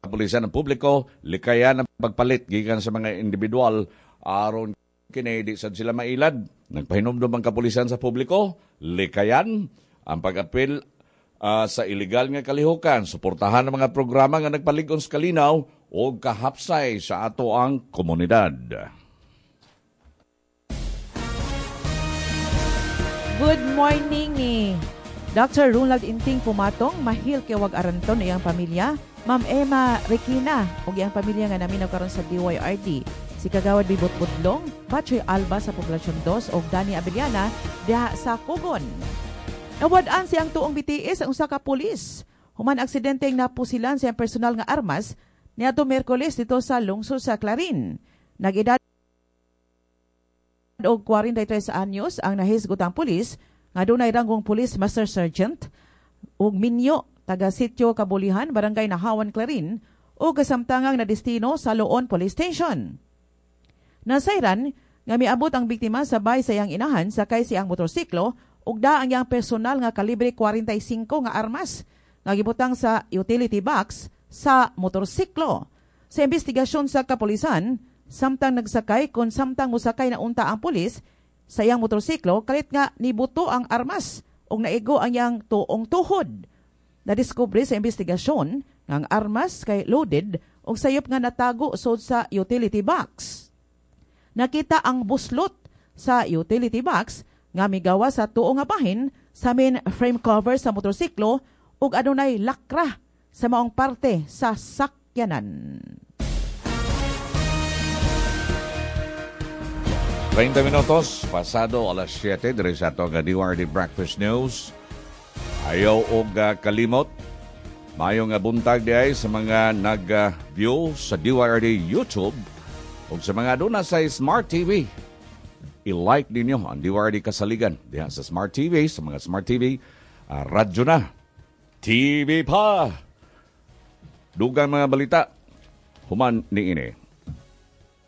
Kapulisan ang publiko, likayan ang pagpalit gikan sa mga individual aron kini di sad sila mailad. Nagpahinumdom ang kapulisan sa publiko, likayan ang pag-apil sa ilegal nga kalihukan, suportahan ang mga programa nga nagpalig-on sa kalinaw o kahapsay sa ato ang komunidad. Good morning ni Dr. Ronald Inting Pumatong, mahil kay wag aranton iyang pamilya. Ma'am Emma Requina ug iyang pamilya nga naminaw karon sa DYRD. Si Kagawad Bibot Budlong, Bachoy Alba sa Poblacion 2 ug Dani Abellana diha sa Kugon. Nawad-an siyang tuong BTS ang usa ka pulis. Human aksidenteng napusilan siyang personal nga armas niadto Miyerkules dito sa lungsod sa Clarin. Nag-edad og 43 anyos ang nahisgutang pulis nga dunay ranggong Police Master Sergeant ug minyo taga Sitio Kabulihan, Barangay Nahawan, Clarin, ug kasamtangang nadestino sa Loon Police Station. Nasayran nga miabot ang biktima sabay sa iyang inahan sakay siyang motorsiklo ug da ang iyang personal nga kalibre 45 nga armas nga gibutang sa utility box sa motorsiklo. Sa investigasyon sa kapulisan, samtang nagsakay kon samtang mosakay na unta ang pulis sa iyang motorsiklo, kalit nga nibuto ang armas ug naigo ang iyang tuong tuhod. Nadiskubre sa investigasyon nga ang armas kay loaded ug sayop nga natago sud sa utility box. Nakita ang buslot sa utility box nga migawa sa tuo nga bahin sa main frame cover sa motorsiklo ug adunay lakra sa maong parte sa sakyanan. 30 minutos pasado alas 7 diri sa ato nga DYRD Breakfast News. Ayaw og kalimot. Maayong buntag diay sa mga nag-view sa DYRD YouTube ug sa mga aduna sa Smart TV. I-like ninyo ang DYRD Kasaligan diha sa Smart TV, sa mga Smart TV, radyo na, TV pa. Dugang mga balita, human ni ini.